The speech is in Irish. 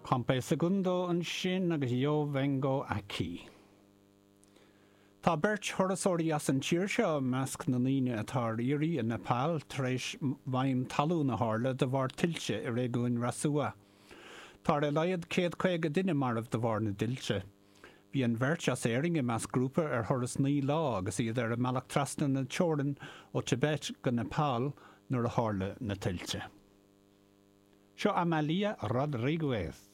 Pompe Segundo ansin agus Yo Vengo Aquí. Tá beirt thurasóirí as an tír seo i measc na ndaoine atá ar iarraidh i Nepal tar éis maidhm talún a tharla de bharr tuilte i réigiún Rasuwa. Tá ar a laghad 150 duine marbh de bharr na dtuilte. Bhí an bheirt as Éirinn i measc grúpa ar thuras 9 lá agus iad ar a mbealach trasna na teorann ó Tibet go Nepal nuair a tharla na tuilte. Seo Amalia Rodriguez.